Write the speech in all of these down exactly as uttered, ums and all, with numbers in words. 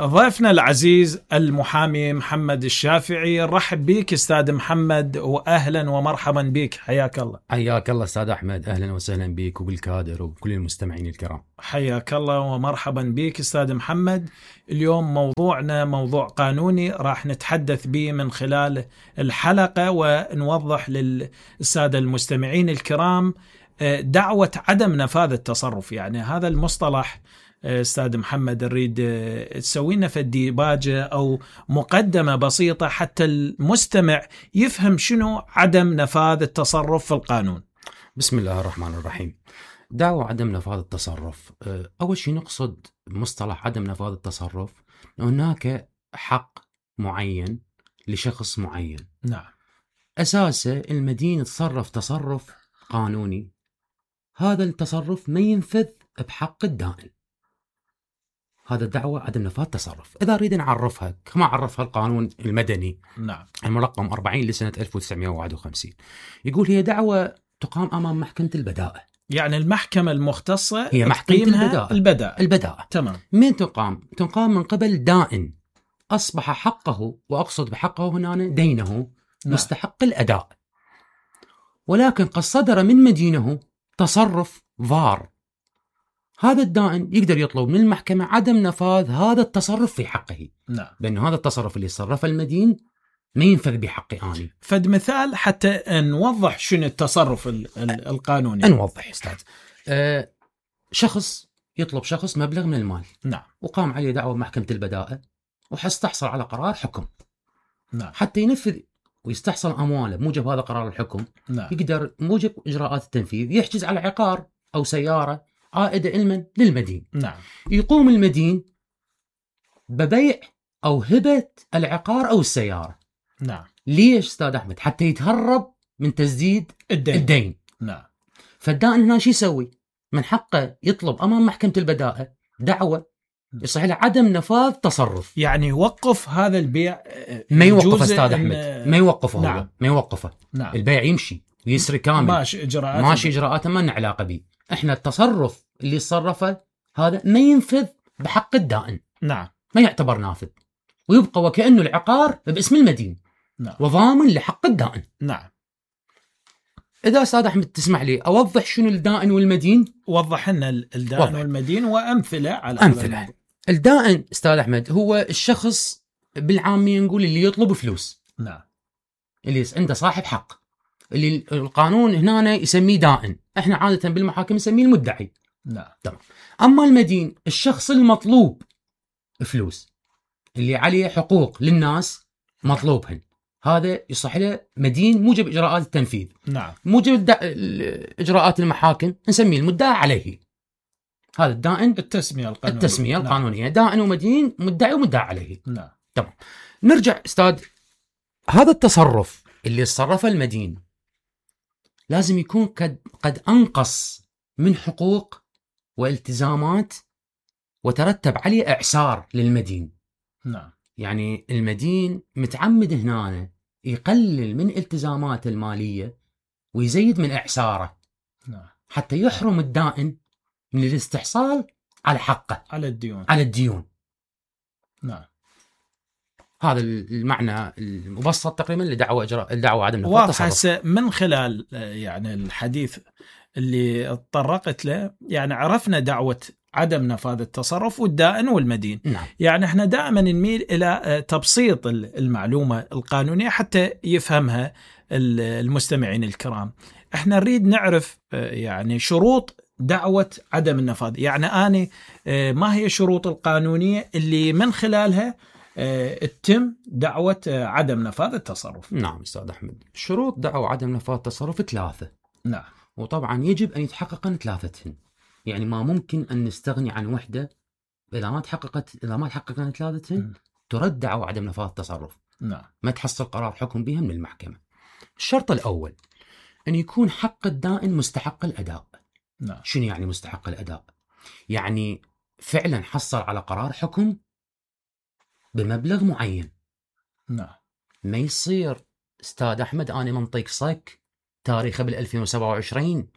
ضيفنا العزيز المحامي محمد الشافعي، رحب بك استاذ محمد واهلا ومرحبا بك، حياك الله. حياك الله استاذ احمد، اهلا وسهلا بك وبالكادر وبكل المستمعين الكرام. حياك الله ومرحبا بك استاذ محمد. اليوم موضوعنا موضوع قانوني راح نتحدث به من خلال الحلقة ونوضح للسادة المستمعين الكرام دعوة عدم نفاذ التصرف. يعني هذا المصطلح استاذ محمد نريد تسوي لنا فديباجة او مقدمة بسيطة حتى المستمع يفهم شنو عدم نفاذ التصرف في القانون. بسم الله الرحمن الرحيم. دعوة عدم نفاذ التصرف، اول شيء نقصد مصطلح عدم نفاذ التصرف هناك حق معين لشخص معين. نعم. اساسه المدين تصرف تصرف قانوني، هذا التصرف ما ينفذ بحق الدائن، هذا دعوة عدم نفاذ تصرف. إذا أريد نعرفها كما عرفها القانون المدني نعم المرقم أربعين لسنة ألف وتسعمائة وواحد وخمسين، يقول هي دعوة تقام أمام محكمة البداءة. يعني المحكمة المختصة هي محكمة البداءة. البداءة البداءة تمام. من تقام؟ تقام من قبل دائن أصبح حقه، وأقصد بحقه هنا دينه، نعم. مستحق الأداء، ولكن قد صدر من مدينه تصرف ضار، هذا الدائن يقدر يطلب من المحكمة عدم نفاذ هذا التصرف في حقه. نعم. بأن هذا التصرف اللي صرفه المدين ما ينفذ بحقي أنا. فد مثال حتى نوضح شنو التصرف القانوني. نوضح أستاذ. أه شخص يطلب شخص مبلغ من المال، نعم، وقام عليه دعوة محكمة البداءة وحستحصل على قرار حكم، نعم، حتى ينفذ ويستحصل أمواله موجب هذا قرار الحكم، نعم. يقدر موجب إجراءات التنفيذ يحجز على عقار أو سيارة عائدة علما للمدين. نعم. يقوم المدين ببيع أو هبة العقار أو السيارة. نعم. ليش أستاذ أحمد؟ حتى يتهرب من تسديد الدين. الدين. نعم. فالدائن هنا شو يسوي؟ من حقه يطلب أمام محكمة البداءة دعوة يصح له عدم نفاذ تصرف، يعني يوقف هذا البيع. ما يوقف أستاذ أحمد، ما يوقفه. نعم. هو ما يوقفه. نعم. البيع يمشي ويسري كامل، ماشي إجراءات ماشي إجراءاته ما لنا علاقة به. إحنا التصرف اللي صرفه هذا ما ينفذ بحق الدائن. نعم. ما يعتبر نافذ، ويبقى وكأنه العقار باسم المدين. نعم. وضامن لحق الدائن. نعم. إذا أستاذ أحمد تسمح لي أوضح شنو الدائن والمدين. وضح لنا الدائن وضح. والمدين وأمثلة على أمثلة. الدائن أستاذ أحمد هو الشخص بالعامية نقول اللي يطلب فلوس. نعم. اللي عنده صاحب حق، اللي القانون هنا يسميه دائن، احنا عادة بالمحاكم نسميه المدعي. نعم. تمام. أما المدين الشخص المطلوب فلوس، اللي عليه حقوق للناس مطلوبهن، هذا يصح له مدين موجب إجراءات التنفيذ. نعم. موجب إجراءات المحاكم نسميه المدعى عليه. هذا الدائن التسمية القانونية. التسمية القانونية. نعم. دائن ومدين، مدعي ومدعى عليه. نعم. تمام. نرجع أستاذ، هذا التصرف اللي صرفه المدين لازم يكون قد قد أنقص من حقوق والتزامات وترتب عليه إعسار للمدين. نعم. يعني المدين متعمد هنا يقلل من التزاماته المالية ويزيد من إعساره. نعم. حتى يحرم الدائن من الاستحصال على حقه، على الديون على الديون. نعم. هذا المعنى المبسط تقريبا لدعوة إجراء الدعوة عدم نفاذ التصرف. واضح من خلال يعني الحديث اللي تطرقت له، يعني عرفنا دعوة عدم نفاذ التصرف والدائن والمدين. نعم. يعني احنا دائما نميل إلى تبسيط المعلومة القانونية حتى يفهمها المستمعين الكرام. احنا نريد نعرف يعني شروط دعوة عدم النفاذ. يعني أنا ما هي الشروط القانونية اللي من خلالها تتم دعوة عدم نفاذ التصرف؟ نعم أستاذ أحمد، شروط دعوة عدم نفاذ التصرف ثلاثة. نعم. وطبعا يجب أن يتحققن ثلاثتهن، يعني ما ممكن أن نستغني عن وحدة إذا ما تحققت إذا ما تحققن ثلاثتهن ترد دعوة عدم نفاذ التصرف. نعم. ما تحصل قرار حكم بها من المحكمة. الشرط الأول أن يكون حق الدائن مستحق الأداء. نعم. شنو يعني مستحق الأداء؟ يعني فعلا حصل على قرار حكم بمبلغ معين. نعم. ما يصير استاذ احمد انا منطيك صك تاريخه بال ألفين وسبعة وعشرين،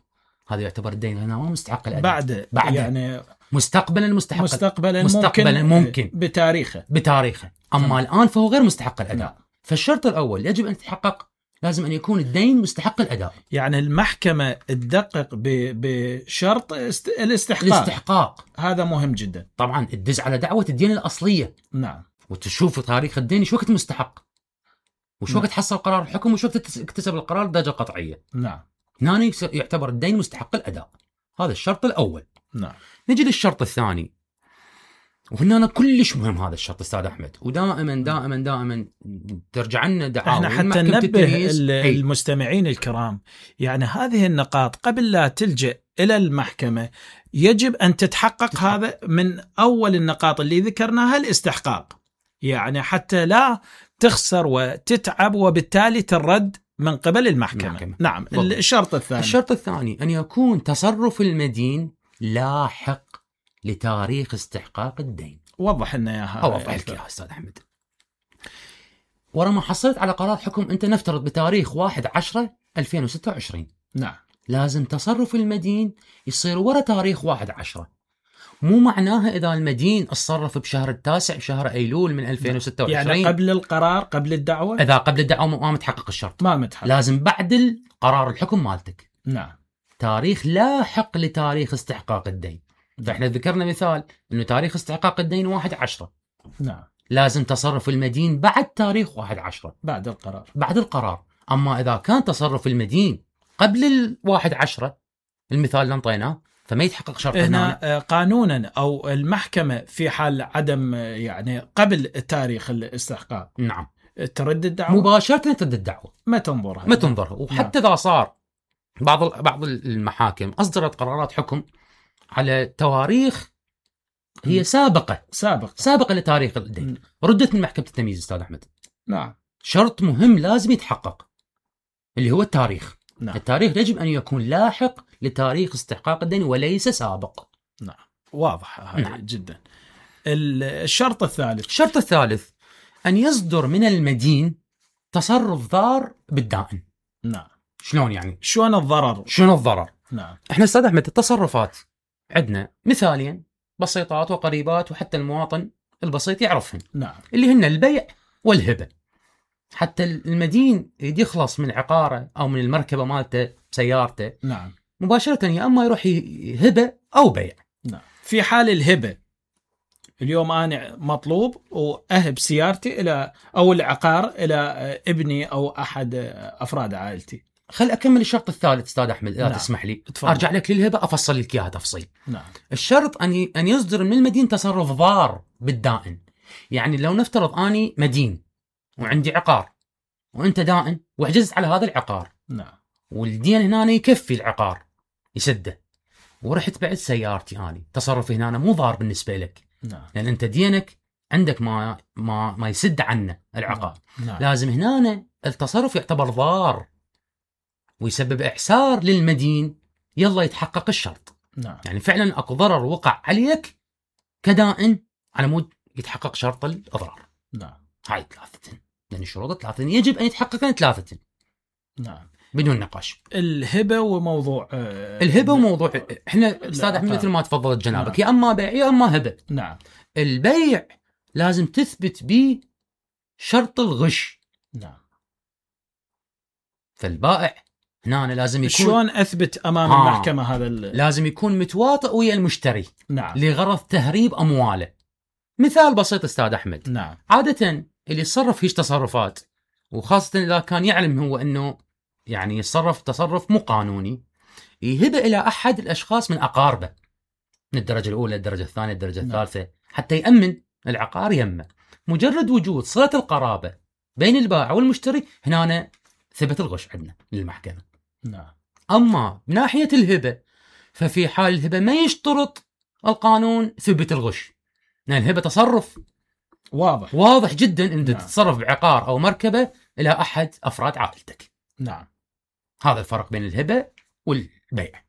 هذا يعتبر الدين هنا ما مستحق الاداء. بعد, بعد يعني مستقبلا مستحق مستقبلا, مستقبلا ممكن, ممكن بتاريخه بتاريخه أما تمام. الآن فهو غير مستحق الأداء. نعم. فالشرط الأول يجب أن يتحقق، لازم أن يكون الدين مستحق الأداء. يعني المحكمة تدقق بشرط الاستحقاق. الاستحقاق هذا مهم جدا. طبعا تدز على دعوة الدين الأصلية. نعم. وتشوف تاريخ الدين شو وقت مستحق، وشو وقت حصل قرار الحكم، وشو وقت اكتسب القرار بدرجة قطعية. نعم. هنا يعتبر الدين مستحق الأداء. هذا الشرط الأول. نعم. نجي للشرط الثاني، وهنا كلش مهم هذا الشرط استاذ احمد، ودائما دائما دائما ترجع لنا دعاوى. احنا حتى ننبه المستمعين الكرام، يعني هذه النقاط قبل لا تلجأ الى المحكمة يجب ان تتحقق تحقق. هذا من اول النقاط اللي ذكرناها الاستحقاق، يعني حتى لا تخسر وتتعب وبالتالي ترد من قبل المحكمة. المحكمة. نعم. بالضبط. الشرط الثاني الشرط الثاني ان يكون تصرف المدين لاحق لتاريخ استحقاق الدين. وضح لنا اياها. اوضح لك اياها استاذ احمد. ورا ما حصلت على قرار حكم انت نفترض بتاريخ واحد عشرة ألفين وستة وعشرين. نعم. لازم تصرف المدين يصير ورا تاريخ واحد عشرة. مو معناها اذا المدين اتصرف بشهر التاسع بشهر ايلول من ألفين وستة وعشرين، يعني قبل القرار قبل الدعوة، اذا قبل الدعوة ما متحقق الشرط، ما متحقق، لازم بعد قرار الحكم مالتك. نعم. تاريخ لاحق لتاريخ استحقاق الدين. فاحنا ذكرنا مثال انه تاريخ استحقاق الدين واحد عشرة. نعم. لازم تصرف المدين بعد تاريخ واحد عشرة، بعد القرار. بعد القرار. اما اذا كان تصرف المدين قبل الواحد عشرة، المثال اللي انطيناه، فما يتحقق شرط. هنا قانونا او المحكمة في حال عدم يعني قبل تاريخ الاستحقاق، نعم، ترد الدعوة مباشرة، ترد الدعوة، ما تنظرها ما تنظرها. وحتى اذا صار بعض بعض المحاكم اصدرت قرارات حكم على تواريخ هي سابقة سابقة سابقة لتاريخ الدين، ردت من محكمة التمييز استاذ احمد. نعم. شرط مهم لازم يتحقق اللي هو التاريخ. نعم. التاريخ يجب ان يكون لاحق لتاريخ استحقاق الدين وليس سابق. نعم. واضح هذا. نعم. جدا. الشرط الثالث الشرط الثالث ان يصدر من المدين تصرف ضار بالدائن. نعم. شلون يعني؟ شلون الضرر؟ شلون الضرر؟ نعم. احنا استاذ احمد التصرفات عندنا مثالين بسيطات وقريبات وحتى المواطن البسيط يعرفهن. نعم. اللي هن البيع والهبة. حتى المدين يخلص من عقاره او من المركبه مالته سيارته، نعم، مباشره يا اما يروح هبه او بيع. نعم. في حال الهبه اليوم انا مطلوب واهب سيارتي الى او العقار الى ابني او احد افراد عائلتي. خل اكمل الشرط الثالث استاذ احمد اذا نعم. تسمح لي تفضل. ارجع لك للهبه افصل لك اياها تفصيل. نعم. الشرط ان ان يصدر من المدين تصرف ضار بالدائن. يعني لو نفترض اني مدين وعندي عقار وانت دائن وحجزت على هذا العقار، نعم، والدين هنا يكفي العقار يسده، ورحت بعت سيارتي اني، تصرفي هنا مو ضار بالنسبه لك. نعم. لان انت دينك عندك ما ما ما يسد عنه العقار. نعم. لازم هنا التصرف يعتبر ضار ويسبب اعسار للمدين، يلا يتحقق الشرط. نعم. يعني فعلا اكو ضرر وقع عليك كدائن على مود يتحقق شرط الاضرار. نعم. هاي ثلاثة، لان الشروط ثلاثة يجب ان يتحققن ثلاثة. نعم. بدون نقاش. الهبه وموضوع آه الهبه وموضوع احنا استاذ احمد مثل ما تفضلت جنابك، نعم. يا اما بيع يا اما هبه. نعم. البيع لازم تثبت به شرط الغش. نعم. فالبائع هنا أنا لازم يكون شلون اثبت امام آه. المحكمه هذا ال... لازم يكون متواطئ ويا المشتري. نعم. لغرض تهريب امواله. مثال بسيط استاذ احمد. نعم. عاده اللي يتصرف هيش تصرفات، وخاصه اذا كان يعلم هو انه يعني يتصرف تصرف مو قانوني، يهبه الى احد الاشخاص من اقاربه من الدرجه الاولى الدرجه الثانيه الدرجه الثالثه. نعم. حتى يامن العقار يمه. مجرد وجود صله القرابه بين البائع والمشتري هنا ثبت الغش عندنا للمحكمه. نعم. اما من ناحيه الهبه ففي حال الهبه ما يشترط القانون ثبت الغش، لان الهبه تصرف واضح واضح جدا ان نعم. تتصرف بعقار او مركبه الى احد افراد عائلتك. نعم. هذا الفرق بين الهبه والبيع.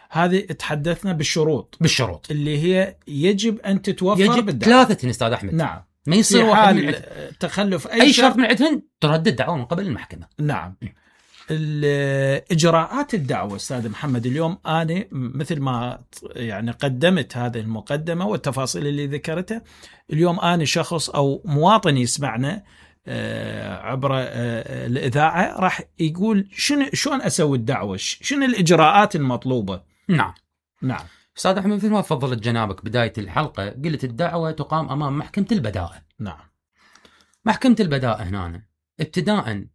هذه تحدثنا بالشروط بالشروط اللي هي يجب ان تتوفر يجب بالدعوة. ثلاثه استاذ احمد. نعم. ما يصير واحد من تخلف اي, أي شرط من عندهن تردد دعوة من قبل المحكمة. نعم. إجراءات الدعوة أستاذ محمد، اليوم أنا مثل ما يعني قدمت هذه المقدمة والتفاصيل اللي ذكرتها، اليوم أنا شخص أو مواطن يسمعنا عبر الإذاعة راح يقول شنو شلون أسوي الدعوة، شنو الإجراءات المطلوبة؟ نعم نعم أستاذ أحمد، مثل ما فضلت جنابك بداية الحلقة قلت الدعوة تقام أمام محكمة البدائع. نعم. محكمة البدائع هنا ابتداء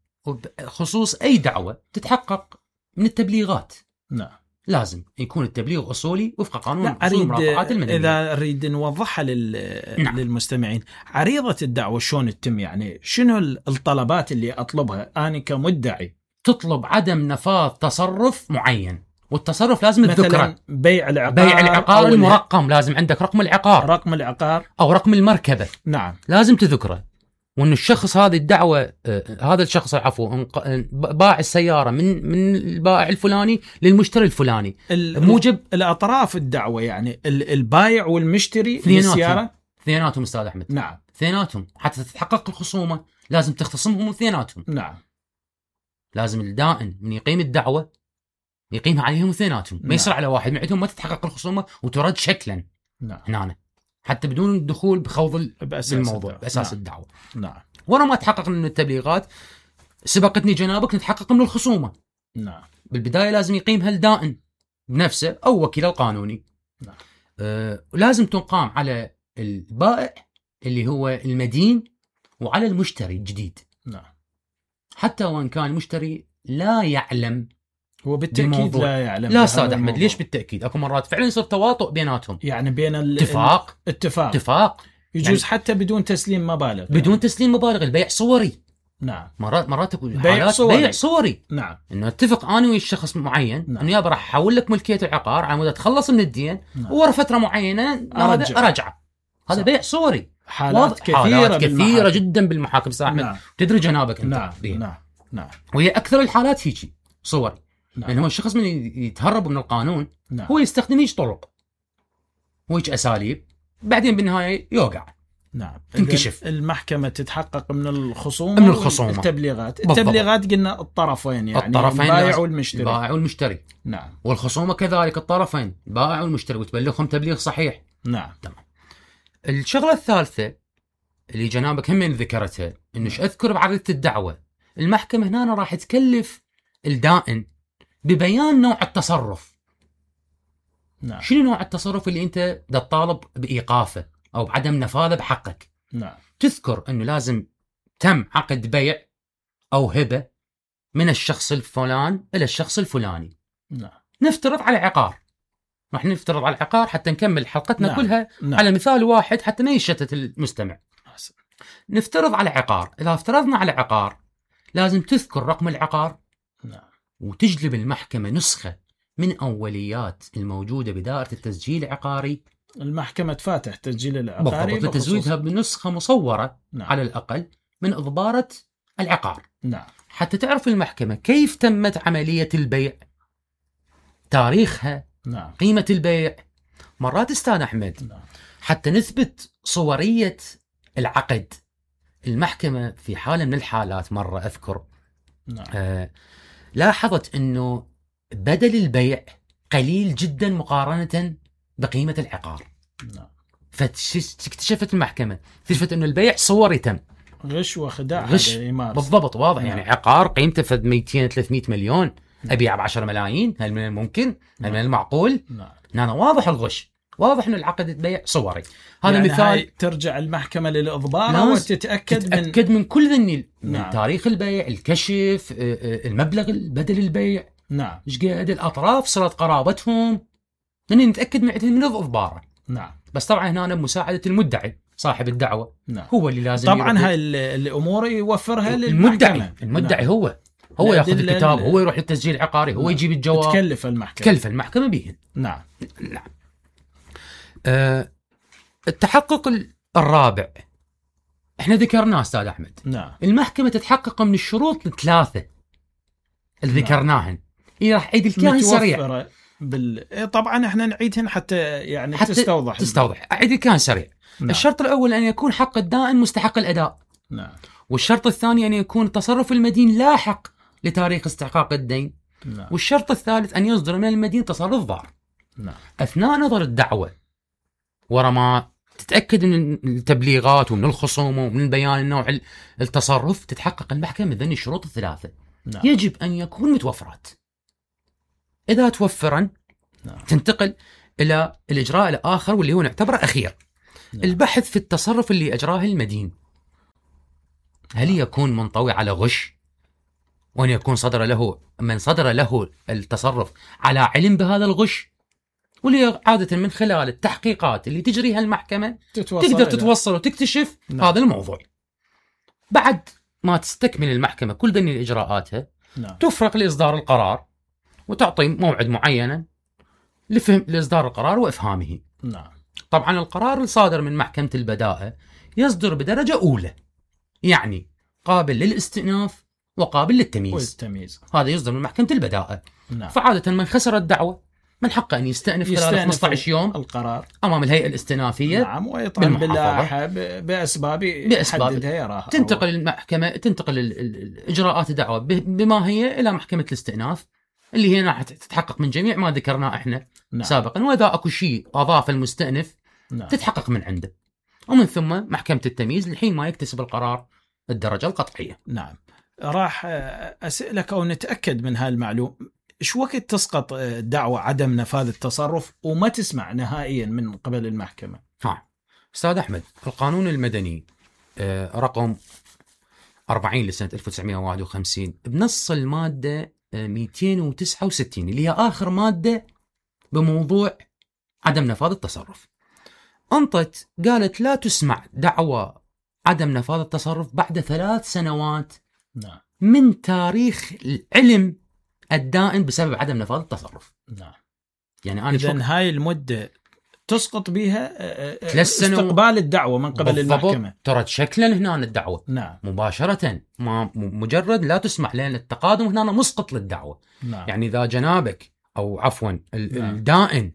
خصوص أي دعوة تتحقق من التبليغات. نعم. لازم يكون التبليغ أصولي وفق قانون المرافعات المدنية. إذا نريد نوضحها لل... نعم. للمستمعين، عريضة الدعوة شلون تتم؟ يعني شنو الطلبات اللي أطلبها أنا كمدعي؟ تطلب عدم نفاذ تصرف معين، والتصرف لازم تذكره. بيع العقار، بيع العقار المرقم، لازم عندك رقم العقار، رقم العقار أو رقم المركبة. نعم. لازم تذكره. وأن الشخص هذه الدعوة آه هذا الشخص عفوا باع السيارة من من البائع الفلاني للمشتري الفلاني موجب الأطراف الدعوة، يعني البائع والمشتري للسيارة اثنيناتهم أستاذ أحمد. نعم. اثنيناتهم حتى تتحقق الخصومة لازم تختصمهم اثنيناتهم. نعم. لازم الدائن من يقيم الدعوة يقيمها عليهم اثنيناتهم. نعم. ما يصير على واحد من عندهم ما تتحقق الخصومة وترد شكلا. نعم. هنا حتى بدون الدخول بخوض بأساس الموضوع الدعوة. بأساس نعم. الدعوة. نعم. ورا ما تحقق من التبليغات سبقتني جنابك نتحقق من الخصومة. نعم. بالبداية لازم يقيمها الدائن بنفسه أو وكيل القانوني. نعم. آه لازم تقام على البائع اللي هو المدين وعلى المشتري الجديد. نعم. حتى وان كان المشتري لا يعلم. هو بالتأكيد لا يعلم. لا أستاذ أحمد، ليش بالتأكيد؟ أكو مرات فعلا يصير تواطؤ بيناتهم، يعني بين اتفاق اتفاق اتفاق يجوز يعني حتى بدون تسليم مبالغ، بدون يعني. تسليم مبالغ، البيع صوري. نعم. مرات مرات تكون بيع صوري. بيع صوري. نعم. انه اتفق انا ويا الشخص معين. نعم. انه يابا راح احول لك ملكيه العقار على مود اتخلص من الدين. نعم. وورا فتره معينه ارجع ارجع. هذا بيع صوري. حالات كثيره حالات كثيره جدا بالمحاكم صاحب. نعم. تدري جنابك انت. نعم. نعم. نعم. وهي اكثر الحالات هيجي صوري. نعم. لأن هو الشخص من يتهرب من القانون. نعم. هو يستخدم هيج طرق وهيج أساليب، بعدين بالنهاية يوقع. نعم. تنكشف. المحكمة تتحقق من الخصومة من الخصومة التبليغات. التبليغات قلنا الطرفين، يعني الطرفين البائع والمشتري. البائع والمشتري. نعم. والخصومة كذلك الطرفين البائع والمشتري، وتبلغهم تبليغ صحيح. نعم. تمام. الشغلة الثالثة اللي جنابك هم ذكرتها إنه أذكر بعرضة الدعوة، المحكمة هنا راح تكلف الدائن ببيان نوع التصرف. نعم. شنو نوع التصرف اللي انت دا تطالب بايقافه او بعدم نفاذه بحقك؟ نعم. تذكر انه لازم تم عقد بيع او هبه من الشخص الفلان الى الشخص الفلاني. نعم. نفترض على عقار، راح نفترض على العقار حتى نكمل حلقتنا. نعم. كلها. نعم. على مثال واحد حتى ما يشتت المستمع. حسن. نفترض على عقار. اذا افترضنا على عقار لازم تذكر رقم العقار. نعم. وتجلب المحكمة نسخة من أوليات الموجودة بدائرة التسجيل العقاري. المحكمة تفاتح تسجيل العقاري بالضبط، لتزويدها بنسخة مصورة. نعم. على الأقل من إضبارة العقار. نعم. حتى تعرف المحكمة كيف تمت عملية البيع، تاريخها. نعم. قيمة البيع. مرات أستاذ أحمد. نعم. حتى نثبت صورية العقد، المحكمة في حالة من الحالات مرة أذكر. نعم. آه لاحظت أنه بدل البيع قليل جدا مقارنة بقيمة العقار. نعم. فاكتشفت المحكمة اكتشفت أنه البيع صوري تم غش وخداع. غش بالضبط واضح. نعم. يعني عقار قيمته فد مئتين ثلاثمئة مليون. نعم. أبيع بعشرة ملايين. هل من الممكن؟ هل من المعقول؟ نعم. نعم. واضح الغش، واضح أنه العقد البيع صوري. هذا يعني مثال. ترجع المحكمة للإضبار وتتأكد تتأكد من, من كل ذني. نعم. من تاريخ البيع، الكشف، المبلغ بدل البيع. نعم. ايش قاعد الأطراف صلت قرابتهم، يعني نتأكد من من الإضبار. نعم. بس طبعا هنا بمساعدة المدعي صاحب الدعوة. نعم. هو اللي لازم طبعا هاي الأمور يوفرها المدعي. للمحكمة. المدعي. نعم. هو هو ياخذ الكتاب، هو يروح للتسجيل العقاري. هو. نعم. يجيب الجواب. تكلف المحكمة تكلف المحكمة بهن. نعم. نعم. أه التحقق الرابع احنا ذكرناه استاذ احمد. نعم. المحكمة تتحقق من الشروط الثلاثة اللي ذكرناهن. إيه راح أعيد الكلام سريع. بال... طبعا احنا نعيدهن حتى يعني حتى تستوضح. تستوضح. أعيد الكلام سريع. نعم. الشرط الأول أن يكون حق الدائن مستحق الأداء. نعم. والشرط الثاني أن يكون تصرف المدين لاحق لتاريخ استحقاق الدين. نعم. والشرط الثالث أن يصدر من المدين تصرف ضار. نعم. أثناء نظر الدعوة ورا ما تتأكد من التبليغات ومن الخصومة ومن بيان النوع التصرف، تتحقق المحكمة من ذني الشروط الثلاثة. نعم. يجب أن يكون متوفرات. إذا توفرا نعم. تنتقل إلى الإجراء الآخر واللي هو نعتبره أخير. نعم. البحث في التصرف اللي أجراه المدين، هل يكون منطوي على غش، وأن يكون صدر له من صدر له التصرف على علم بهذا الغش، واللي عادة من خلال التحقيقات اللي تجريها المحكمة تقدر تتوصل وتكتشف. نعم. هذا الموضوع. بعد ما تستكمل المحكمة كل ذني الإجراءاتها، نعم. تفرق لإصدار القرار وتعطي موعد معين لفهم لإصدار القرار وإفهامه. نعم. طبعا القرار الصادر من محكمة البداءة يصدر بدرجة أولى، يعني قابل للاستئناف وقابل للتمييز. والتمييز هذا يصدر من محكمة البداءة. نعم. فعادة من خسر الدعوة من حقه أن يستأنف, يستأنف خلال خمسة عشر يوم القرار أمام الهيئة الاستئنافية. نعم. ويطعن باللائحة بأسباب يحددها يراها. تنتقل المحكمة تنتقل الإجراءات الدعوة بما هي إلى محكمة الاستئناف، اللي هي راح تتحقق من جميع ما ذكرناه احنا. نعم. سابقا. وإذا أكو شيء أضاف المستأنف، نعم. تتحقق من عنده، ومن ثم محكمة التمييز لحين ما يكتسب القرار الدرجة القطعية. نعم. راح أسألك أو نتأكد من هالمعلوم، إيش وقت تسقط دعوة عدم نفاذ التصرف وما تسمع نهائيا من قبل المحكمة؟ ها أستاذ أحمد، القانون المدني رقم أربعين لسنة ألف وتسعمائة وواحد وخمسين بنص المادة مئتين وتسعة وستين اللي هي آخر مادة بموضوع عدم نفاذ التصرف، أنطت قالت لا تسمع دعوى عدم نفاذ التصرف بعد ثلاث سنوات نعم. من تاريخ العلم الدائم بسبب عدم نفاذ التصرف. نعم. يعني أنا إذن هاي المدة تسقط بها استقبال الدعوة من قبل المحكمة. ترى شكلا هنا الدعوة. نعم. مباشرة، ما مجرد لا تسمع، لأن التقادم هنا مسقط للدعوة. نعم. يعني إذا جنابك أو عفوا نعم. الدائن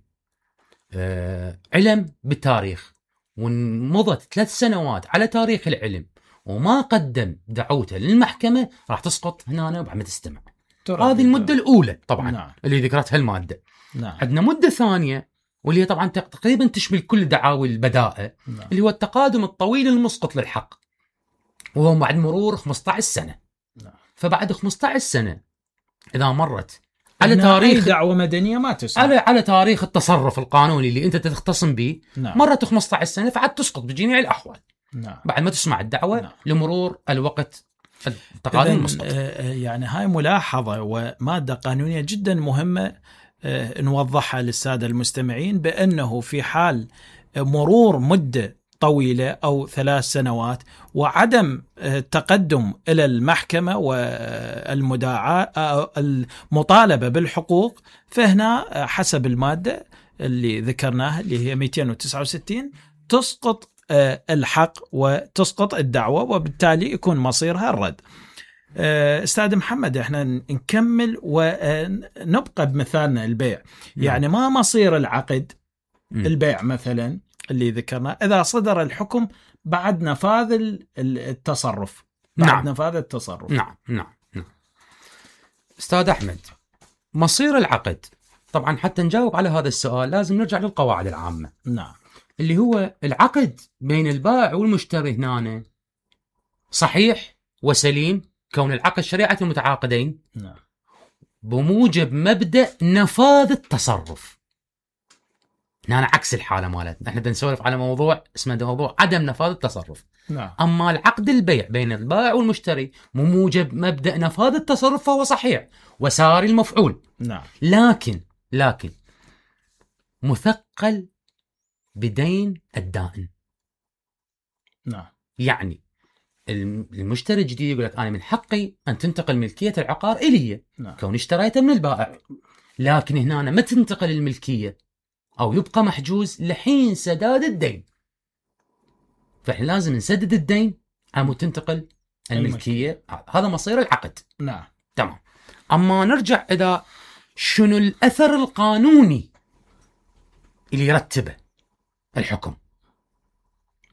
آه علم بالتاريخ ومضت ثلاث سنوات على تاريخ العلم وما قدم دعوته للمحكمة، راح تسقط هنا وبعد ما تستمع. هذه المدة الأولى طبعا. نعم. اللي ذكرتها المادة. نعم. عندنا مدة ثانية واللي هي طبعا تقريبا تشمل كل دعاوي البداءة. نعم. اللي هو التقادم الطويل المسقط للحق، وهو بعد مرور خمسة عشر سنة. نعم. فبعد خمسة عشر سنة إذا مرت على تاريخ دعوة مدنية ما تسمع، على على تاريخ التصرف القانوني اللي أنت تختصم به. نعم. مرت خمسة عشر سنة فعد تسقط بجميع الأحوال. نعم. بعد ما تسمع الدعوة. نعم. لمرور الوقت التقادم المسقط. يعني هاي ملاحظة ومادة قانونية جدا مهمة نوضحها للسادة المستمعين، بأنه في حال مرور مدة طويلة أو ثلاث سنوات وعدم التقدم إلى المحكمة والمداعاة المطالبة بالحقوق، فهنا حسب المادة اللي ذكرناها اللي هي مئتين وتسعة وستين تسقط الحق وتسقط الدعوة، وبالتالي يكون مصيرها الرد. أستاذ محمد، احنا نكمل ونبقى بمثالنا البيع. يعني ما مصير العقد البيع مثلا اللي ذكرنا إذا صدر الحكم بعد نفاذ التصرف؟ بعد نعم. نفاذ التصرف. نعم نعم نعم. أستاذ أحمد، مصير العقد طبعا حتى نجاوب على هذا السؤال لازم نرجع للقواعد العامة. نعم. اللي هو العقد بين البائع والمشتري هنا صحيح وسليم كون العقد شريعة المتعاقدين. نعم. بموجب مبدأ نفاذ التصرف. هنا عكس الحالة مالتنا، احنا بنسولف على موضوع اسمه موضوع عدم نفاذ التصرف. نعم. أما العقد البيع بين البائع والمشتري بموجب مبدأ نفاذ التصرف فهو صحيح وساري المفعول. نعم. لكن لكن مثقل بدين الدائن. نعم. يعني المشتري الجديد يقول لك أنا من حقي أن تنتقل ملكية العقار إلي. نعم. كوني اشتريته من البائع، لكن هنا ما تنتقل الملكية أو يبقى محجوز لحين سداد الدين. فإحنا لازم نسدد الدين أو تنتقل الملكية. هذا مصير العقد. نعم. تمام. أما نرجع إذا شنو الأثر القانوني اللي يرتبه الحكم.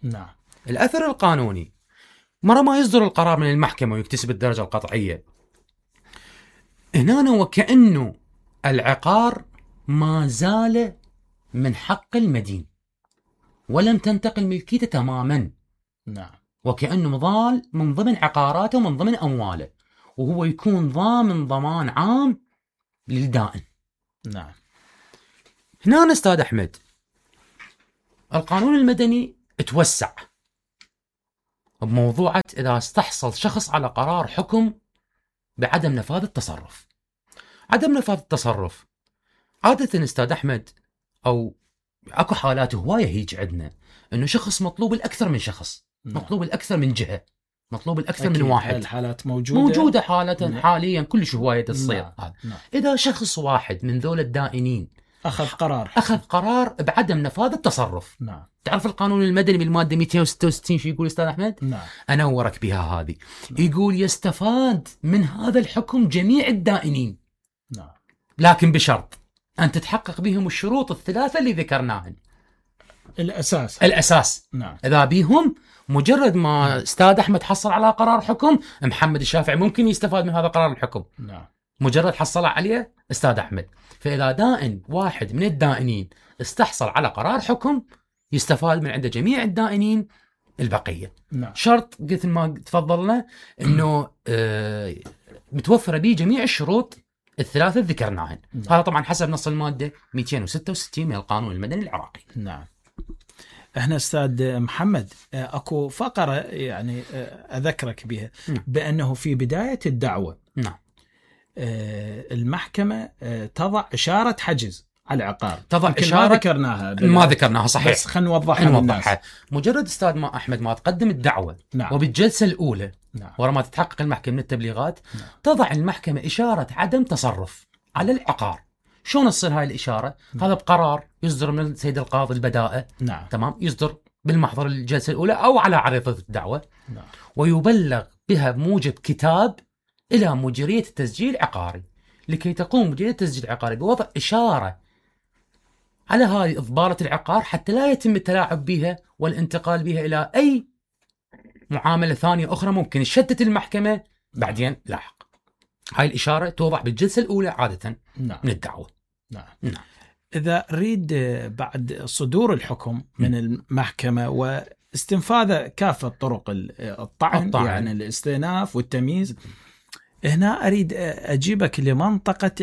نعم. الأثر القانوني مرة ما يصدر القرار من المحكمة ويكتسب الدرجة القطعية، هنا وكأنه العقار ما زال من حق المدين ولم تنتقل ملكيته تماما. نعم. وكأنه مظال من ضمن عقاراته ومن ضمن أمواله، وهو يكون ضامن ضمان عام للدائن. نعم. هنا أستاذ أحمد القانون المدني توسع بموضوعة إذا استحصل شخص على قرار حكم بعدم نفاذ التصرف. عدم نفاذ التصرف عادة أستاذ أحمد أو أكو حالات هواية هيج عندنا إنه شخص مطلوب الأكثر من شخص. نعم. مطلوب الأكثر من جهة، مطلوب الأكثر من واحد. الحالات موجودة موجودة حالة. نعم. حاليا كلش هواية تصير. نعم. نعم. إذا شخص واحد من ذول الدائنين أخذ قرار أخذ قرار بعدم نفاذ التصرف. نعم. تعرف القانون المدني بالمادة مئتين وستة وستين شو يقول أستاذ أحمد؟ نعم. أنورك بها هذه. نعم. يقول يستفاد من هذا الحكم جميع الدائنين. نعم. لكن بشرط أن تتحقق بهم الشروط الثلاثة اللي ذكرناها. الأساس الأساس. نعم. إذا بيهم مجرد ما أستاذ أحمد حصل على قرار حكم، محمد الشافعي ممكن يستفاد من هذا قرار الحكم. نعم. مجرد حصل عليه أستاذ أحمد. فإذا دائن واحد من الدائنين استحصل على قرار حكم يستفاد من عند جميع الدائنين البقية. نعم. شرط قلت ما تفضلنا إنه آه متوفرة به جميع الشروط الثلاثة ذكرناهن. نعم. هذا طبعا حسب نص المادة مئتين وستة وستين من القانون المدني العراقي. نعم. احنا استاذ محمد اكو فقرة يعني اذكرك بها. نعم. بانه في بداية الدعوة نعم المحكمة تضع اشارة حجز على العقار. تضع اشارة ما ذكرناها ما ذكرناها صحيح، بس خلينا نوضحها للناس. مجرد استاذ ما احمد ما تقدم الدعوة. نعم. وبالجلسة الاولى. نعم. ورا ما تتحقق المحكمة من التبليغات. نعم. تضع المحكمة اشارة عدم تصرف على العقار. شلون تصير هاي الاشارة؟ نعم. هذا بقرار يصدر من السيد القاضي البداءة. نعم. تمام. يصدر بالمحضر الجلسة الاولى او على عريضة الدعوة. نعم. ويبلغ بها بموجب كتاب الى مديرية التسجيل العقاري، لكي تقوم مديرية التسجيل العقاري بوضع اشارة على هذه إضبارة العقار حتى لا يتم التلاعب بها والانتقال بها إلى أي معاملة ثانية أخرى ممكن تشتت المحكمة بعدين لاحق. هاي الإشارة توضع بالجلسة الأولى عادة. نعم. من الدعوة. نعم. نعم. إذا أريد بعد صدور الحكم من المحكمة واستنفاذ كافة طرق الطعن, الطعن يعني الاستئناف والتمييز، هنا أريد أجيبك لمنطقة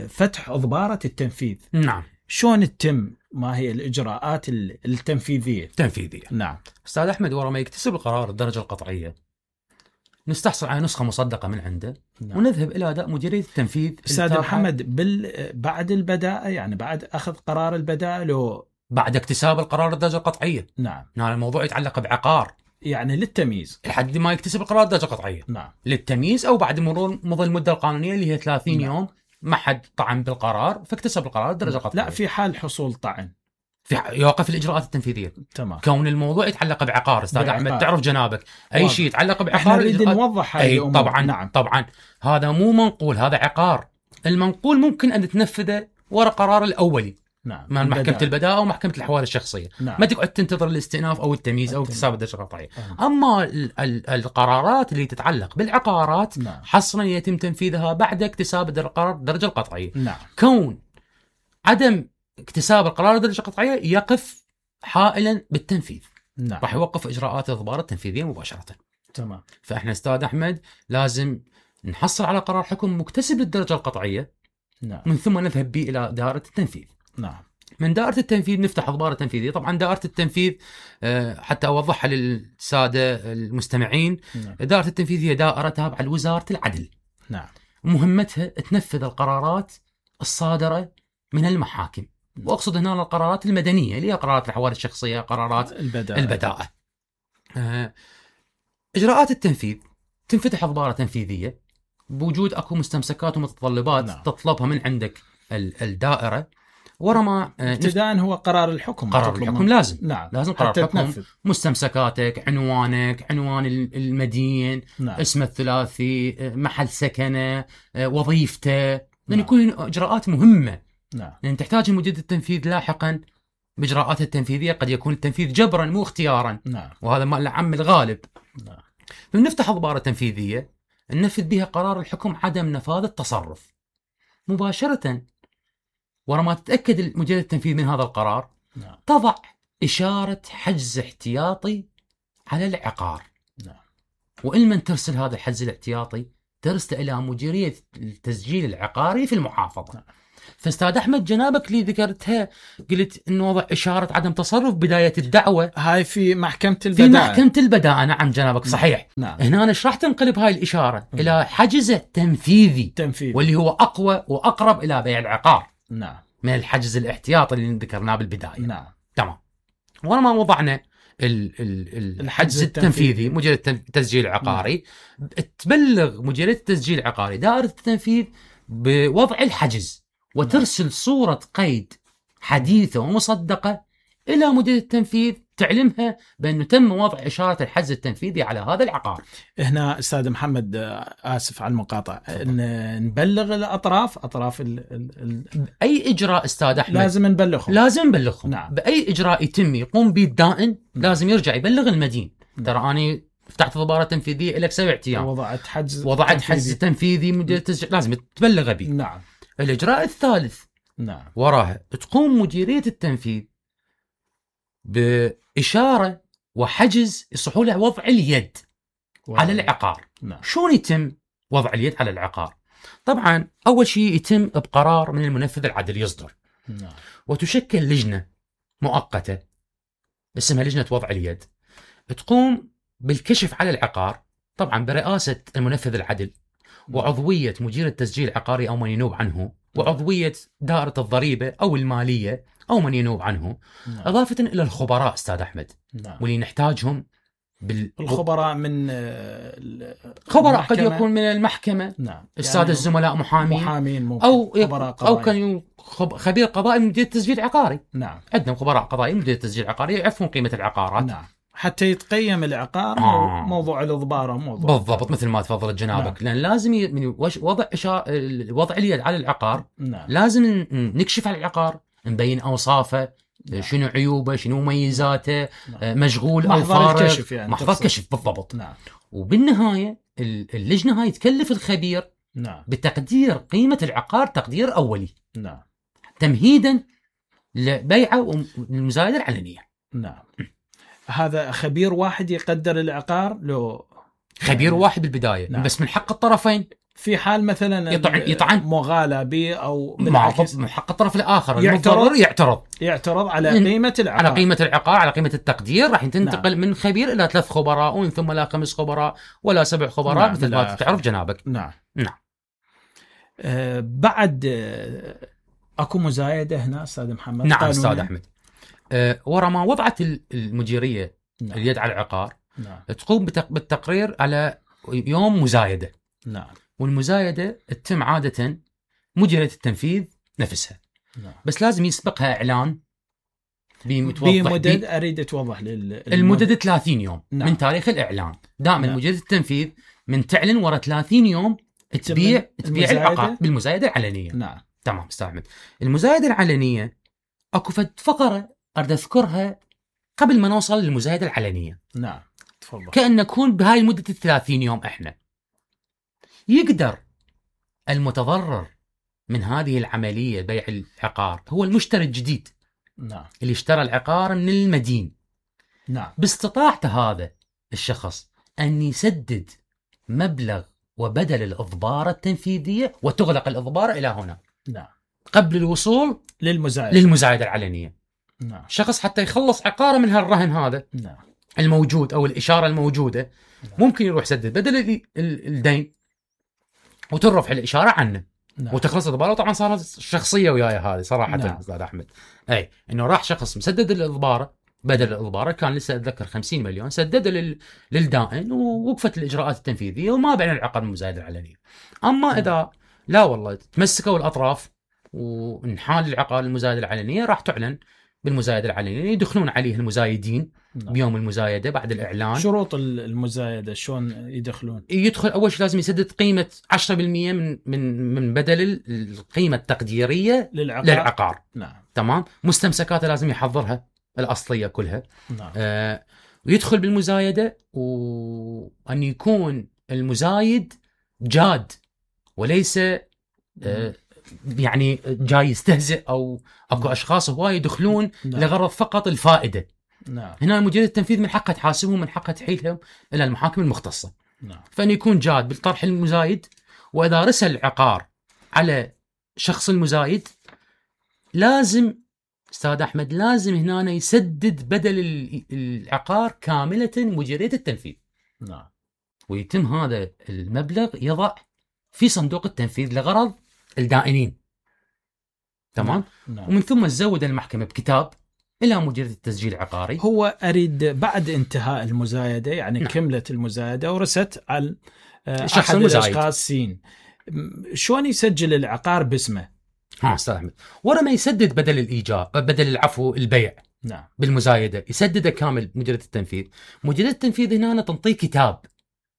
فتح إضبارة التنفيذ. نعم. شلون تتم؟ ما هي الإجراءات التنفيذية؟ تنفيذية. نعم. أستاذ أحمد ورا ما يكتسب القرار الدرجة القطعية نستحصل على نسخة مصدقة من عنده. نعم. ونذهب إلى أداء مديرية التنفيذ. أستاذ محمد بال... بعد البداءة يعني بعد أخذ قرار البداءة لو بعد اكتساب القرار الدرجة القطعية. نعم. هذا الموضوع يتعلق بعقار يعني للتمييز لحد ما يكتسب القرار الدرجة القطعية. نعم. للتمييز أو بعد مرور مضى المدة القانونية اللي هي ثلاثين نعم. يوم ما حد طعن بالقرار فاكتسب القرار الدرجة القطعية. لا في حال حصول طعن في يوقف الإجراءات التنفيذية. تمام. كون الموضوع يتعلق بعقار أستاذ أحمد تعرف جنابك أي شيء يتعلق بعقار نريد نوضح هاي الأمور. طبعا. نعم. طبعا هذا مو منقول، هذا عقار. المنقول ممكن أن تنفذه ورا قرار الأولي. نعم. من محكمة البداءة أو محكمة الأحوال الشخصية. نعم. ما تقعد تنتظر الاستئناف أو التمييز أو اكتساب الدرجة القطعية. أما ال ال القرارات اللي تتعلق بالعقارات نعم. حصرا يتم تنفيذها بعد اكتساب القرار الدرجة القطعية. نعم. كون عدم اكتساب القرار الدرجة القطعية يقف حائلا بالتنفيذ. نعم. راح يوقف إجراءات الإضبار التنفيذية مباشرة. تمام. فإحنا أستاذ أحمد لازم نحصل على قرار حكم مكتسب للدرجة القطعية. نعم. من ثم نذهب به إلى دائرة التنفيذ. نعم. من دائرة التنفيذ نفتح إضبار تنفيذية. طبعا دائرة التنفيذ حتى أوضحها للسادة المستمعين. نعم. دائرة التنفيذ هي دائرة تابعة لوزارة العدل. نعم. مهمتها تنفذ القرارات الصادرة من المحاكم. وأقصد هنا القرارات المدنية اللي هي قرارات الأحوال الشخصية، قرارات البداءة, البداءة. إجراءات التنفيذ تنفتح إضبار تنفيذية بوجود أكو مستمسكات ومتطلبات. نعم. تطلبها من عندك الدائرة ورا ما ابتداء هو قرار الحكم. قرار الحكم لازم. نعم. لازم قرار الحكم. مستمسكاتك، عنوانك، عنوان المدين. نعم. اسمه الثلاثي، محل سكنه، وظيفته. لأن نعم. يكون إجراءات مهمة. نعم. لأن تحتاج مديرية التنفيذ لاحقا بإجراءات التنفيذية قد يكون التنفيذ جبرا مو اختيارا. نعم. وهذا ما العم الغالب. نعم. فنفتح إضبار تنفيذية ننفذ بها قرار الحكم عدم نفاذ التصرف. مباشرة ورا ما تتأكد مجرية التنفيذ من هذا القرار نعم. تضع إشارة حجز احتياطي على العقار. نعم. وإلمن ترسل هذا الحجز الاحتياطي ترسل إلى مديرية التسجيل العقاري في المحافظة. نعم. فاستاذ أحمد جنابك اللي ذكرتها قلت إنه وضع إشارة عدم تصرف بداية الدعوة، هاي في محكمة البداءة. في محكمة البداءة. نعم جنابك صحيح. نعم. هنا أنا راح تنقلب هاي الإشارة م. إلى حجز تنفيذي تنفيذي واللي هو أقوى وأقرب إلى بيع العقار. نعم. من الحجز الاحتياطي اللي ذكرناه بالبداية. نعم. تمام. ورا ما وضعنا ال ال الحجز التنفيذي مجرية التسجيل العقاري تبلغ مجرية التسجيل العقاري دائرة التنفيذ بوضع الحجز وترسل صورة قيد حديثة ومصدقة إلى مديرية التنفيذ تعلمها بأنه تم وضع إشارة الحجز التنفيذي على هذا العقار. هنا أستاذ محمد آسف على المقاطعة، نبلغ الأطراف أطراف ال ال ال أي إجراء أستاذ أحمد لازم نبلغهم. لازم نبلغهم. نعم. بأي إجراء يتم يقوم به الدائن لازم يرجع يبلغ المدين. نعم. ترى أنا فتحت ضبارة تنفيذية لك سبع أيام وضعت حجز وضعت تنفيذي. حجز تنفيذي مدير التسجيل لازم تبلغ به. نعم. الإجراء الثالث نعم. وراها تقوم مديرية التنفيذ بإشارة وحجز يصحوا له وضع اليد واو. على العقار. نعم. شلون يتم وضع اليد على العقار؟ طبعا أول شيء يتم بقرار من المنفذ العدل يصدر. نعم. وتشكل لجنة مؤقتة اسمها لجنة وضع اليد تقوم بالكشف على العقار، طبعا برئاسة المنفذ العدل وعضوية مدير التسجيل العقاري أو من ينوب عنه وعضوية دائرة الضريبة أو المالية أو من ينوب عنه. نعم. إضافة إلى الخبراء أستاذ أحمد. نعم. واللي نحتاجهم بال... الخبراء من خبراء قد يكون من المحكمة. نعم. السادة يعني الزملاء محامين محامين أو أو كان خبير قضائي من مدير التسجيل العقاري. نعم. عندنا خبراء قضائي من مدير التسجيل العقاري يعرفون قيمة العقارات. نعم. حتى يتقيم العقار. آه. موضوع الإضبار موضوع بالضبط مثل ما تفضلت جنابك. نعم. لأن لازم ي... وضع إشار... وضع اليد على العقار. نعم. لازم نكشف على العقار، نبين أوصافه. نعم. شنو عيوبه، شنو مميزاته. نعم. مشغول أو فارغ. يعني محضر كشف بالضبط. نعم. وبالنهاية اللجنة هاي تكلف الخبير. نعم. بتقدير قيمة العقار تقدير أولي. نعم. تمهيدا لبيعه والمزايدة العلنية. نعم. هذا خبير واحد يقدر العقار لو خبير يعني واحد بالبداية. نعم. بس من حق الطرفين في حال مثلا يطعن, يطعن. مغالى به أو بالعكس من حق الطرف الآخر يعترض يعترض يعترض على قيمة العقار على قيمة العقار على قيمة التقدير. راح تنتقل. نعم. من خبير إلى ثلاث خبراء ومن ثم لا خمس خبراء ولا سبع خبراء. نعم. مثل ما تعرف جنابك. نعم. نعم. آه بعد آه أكو مزايدة هنا أستاذ محمد. نعم أستاذ أحمد. أه ورا ما وضعت المديرية. نعم. اليد على العقار. نعم. تقوم بالتقرير على يوم مزايدة. نعم. والمزايدة تتم عادة مديرية التنفيذ نفسها. نعم. بس لازم يسبقها إعلان بمدد بي أريد توضح لل المدد ثلاثين يوم. نعم. من تاريخ الإعلان دائما. نعم. مديرية التنفيذ من تعلن ورا ثلاثين يوم تبيع تبيع العقار بالمزايدة العلنية. نعم. تمام أستاذ أحمد. المزايدة العلنية أكو فقرة أريد أذكرها قبل ما نوصل للمزايدة العلنية. نعم تفضل. كأن نكون بهاي المدة الثلاثين يوم إحنا يقدر المتضرر من هذه العملية بيع العقار هو المشتري الجديد. نعم. اللي اشترى العقار من المدين. نعم. باستطاعته هذا الشخص أن يسدد مبلغ وبدل الإضبار التنفيذية وتغلق الإضبار إلى هنا. نعم. قبل الوصول للمزايدة للمزايدة العلنية. نعم. شخص حتى يخلص عقاره من هالرهن هذا. نعم. الموجود أو الإشارة الموجودة. نعم. ممكن يروح يسدد بدل الدين وترفع الإشارة عنه. نعم. وتخلص الإضبار. طبعا صارت شخصية وياي هذه صراحة. نعم. أستاذ أحمد أي إنه راح شخص مسدد الإضبار بدل الإضبار كان لسه أتذكر خمسين مليون سدد لل... للدائن ووقفت الإجراءات التنفيذية وما بين العقد المزايدة العلنية. أما نعم. إذا لا والله تمسكوا الأطراف ونحال العقار المزايدة العلنية راح تعلن بالمزايدة العلنية يدخلون عليه المزايدين. نعم. بيوم المزايدة بعد الإعلان. شروط المزايدة شلون يدخلون؟ يدخل أول شيء لازم يسدد قيمة عشرة بالمئة من من من بدل القيمة التقديرية للعقار. للعقار. نعم. تمام. مستمسكاته لازم يحضرها الأصلية كلها. نعم. آه ويدخل بالمزايدة وأن يكون المزايد جاد وليس آه يعني جاي يستهزئ أو أكو أشخاص هواي يدخلون نعم. لغرض فقط الفائدة. نعم. هنا مديرية التنفيذ من حقها تحاسبهم، من حقها تحيلهم إلى المحاكم المختصة. نعم. فإن يكون جاد بالطرح المزايد، وإذا رسل العقار على شخص المزايد لازم أستاذ أحمد لازم هنا يسدد بدل العقار كاملة مديرية التنفيذ. نعم. ويتم هذا المبلغ يضع في صندوق التنفيذ لغرض الدائنين. تمام. نعم. ومن ثم تزود المحكمة بكتاب إلى مديرية التسجيل العقاري. هو أريد بعد انتهاء المزايدة يعني نعم. كملت المزايدة ورست على الشخص أحد المزايد. الأشخاص سين، شلون يسجل العقار باسمه؟ ها أستاذ أحمد، ورا ما يسدد بدل الإيجار بدل العفو البيع نعم. بالمزايدة يسدده كامل مديرية التنفيذ. مديرية التنفيذ هنا تنطيه كتاب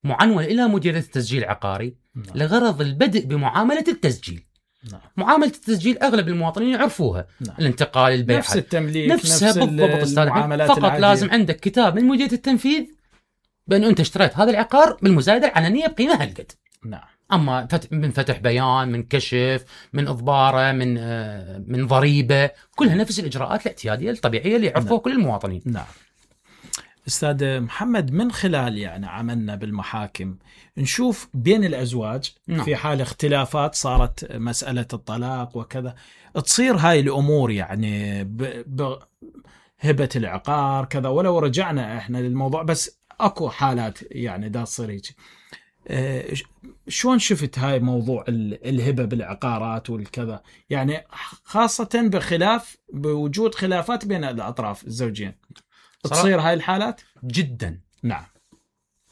معنون إلى مديرية التسجيل العقاري. نعم. لغرض البدء بمعاملة التسجيل. نعم. معاملة التسجيل أغلب المواطنين يعرفوها. نعم. الانتقال، البيع، نفس التمليك، نفسها نفس بالضبط أستاذ أحمد. فقط العادية. لازم عندك كتاب من مديرية التنفيذ بأن أنت اشتريت هذا العقار بالمزايدة العلنية بقيمة هالقد. نعم. أما من فتح بيان، من كشف، من إضبارة، من من ضريبة، كلها نفس الإجراءات الاعتيادية الطبيعية اللي يعرفوها. نعم. كل المواطنين. نعم. أستاذ محمد، من خلال يعني عملنا بالمحاكم نشوف بين الأزواج. نعم. في حال اختلافات صارت مسألة الطلاق وكذا تصير هاي الأمور يعني بهبة العقار كذا، ولو رجعنا إحنا للموضوع بس أكو حالات يعني دا تصير هيك. أه شلون شفت هاي موضوع الهبة بالعقارات والكذا، يعني خاصة بخلاف بوجود خلافات بين الأطراف الزوجين تصير هاي الحالات؟ جدا. نعم.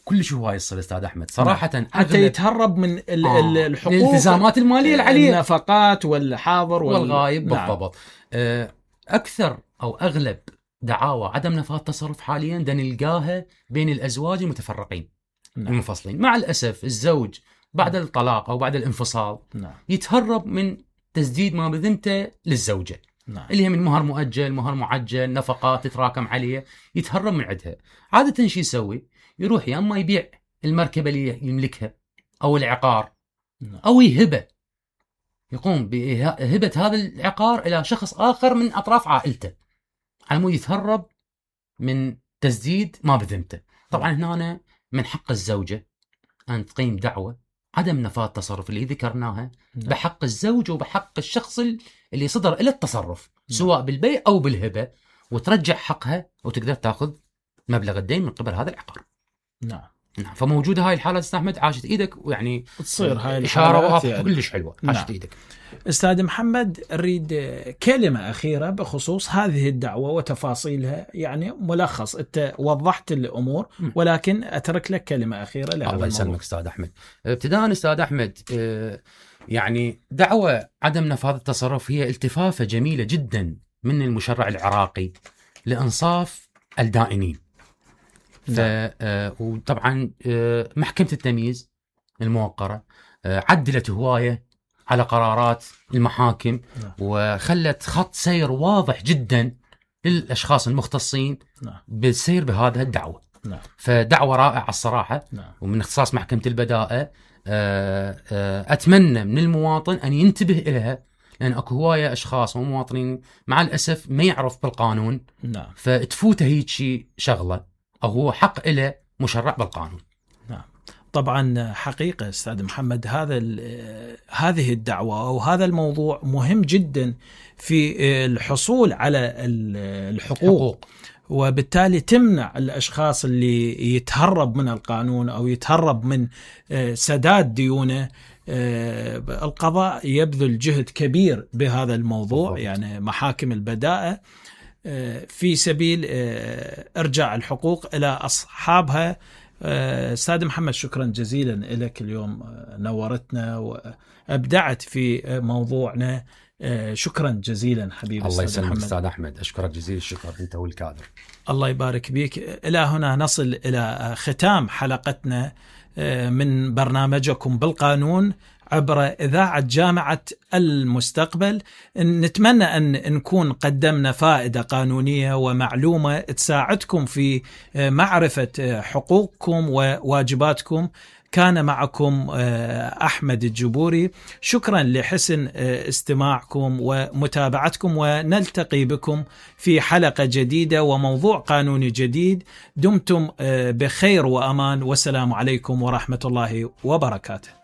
كل شيء هاي يصير أستاذ أحمد صراحة. نعم. حتى يتهرب من آه. الحقوق، الالتزامات المالية العالية، النفقات والحاضر وال... والغايب. نعم. بالضبط. أكثر أو أغلب دعاوى عدم نفاذ التصرف حاليا دا نلقاها بين الأزواج المتفرقين. نعم. المنفصلين. مع الأسف الزوج بعد الطلاق أو بعد الانفصال نعم. يتهرب من تسديد ما بذمته للزوجة. نعم. اللي هي من مهر مؤجل، مهر معجل، نفقات تتراكم عليه، يتهرب من عندها. عادة شو يسوي؟ يروح يا اما يبيع المركبة اللي يملكها أو العقار. نعم. أو يهبه، يقوم بهبة هذا العقار إلى شخص آخر من أطراف عائلته على مود يتهرب من تسديد ما بذمته. طبعا هنا من حق الزوجة أن تقيم دعوة عدم نفاذ التصرف اللي ذكرناها. نعم. بحق الزوج وبحق الشخص اللي صدر إلى التصرف. نعم. سواء بالبيع أو بالهبة، وترجع حقها وتقدر تأخذ مبلغ الدين من قبل هذا العقار. نعم. نعم. فموجودة هاي الحالة أستاذ أحمد، عاشت إيدك ويعني تصير هاي إشارة واضحة يعني. كلش حلوة. عاشت. نعم. إيدك أستاذ محمد، أريد كلمة أخيرة بخصوص هذه الدعوة وتفاصيلها، يعني ملخص أنت وضحت الأمور ولكن أترك لك كلمة أخيرة لهذا الموضوع. الله يسلمك أستاذ أحمد. ابتداء أستاذ أحمد، يعني دعوة عدم نفاذ التصرف هي التفافة جميلة جدا من المشرع العراقي لإنصاف الدائنين. ف وطبعا محكمة التمييز الموقرة عدلت هواية على قرارات المحاكم. نعم. وخلت خط سير واضح جدا للأشخاص المختصين. نعم. بالسير بهذه الدعوة. نعم. فدعوة رائعة الصراحة. نعم. ومن اختصاص محكمة البداءة أتمنى من المواطن أن ينتبه إليها، لأن أكو هواية أشخاص ومواطنين مع الأسف ما يعرف بالقانون. نعم. فتفوته هيك شيء شغلة أو هو حق إله مشرع بالقانون. نعم. طبعا حقيقة أستاذ محمد هذا هذه الدعوة وهذا الموضوع مهم جدا في الحصول على الحقوق. حقوق. وبالتالي تمنع الأشخاص اللي يتهرب من القانون أو يتهرب من سداد ديونه. القضاء يبذل جهد كبير بهذا الموضوع. بالضبط. يعني محاكم البداءة في سبيل إرجاع الحقوق إلى أصحابها. أستاذ محمد، شكرا جزيلا لك، اليوم نورتنا وأبدعت في موضوعنا. شكرا جزيلا حبيبي. الله يسلمك أستاذ أحمد، أشكرك جزيل الشكر أنت والكادر. الله يبارك بك. إلى هنا نصل إلى ختام حلقتنا من برنامجكم بالقانون عبر إذاعة جامعة المستقبل. نتمنى أن نكون قدمنا فائدة قانونية ومعلومة تساعدكم في معرفة حقوقكم وواجباتكم. كان معكم أحمد الجبوري. شكرا لحسن استماعكم ومتابعتكم، ونلتقي بكم في حلقة جديدة وموضوع قانوني جديد. دمتم بخير وأمان، والسلام عليكم ورحمة الله وبركاته.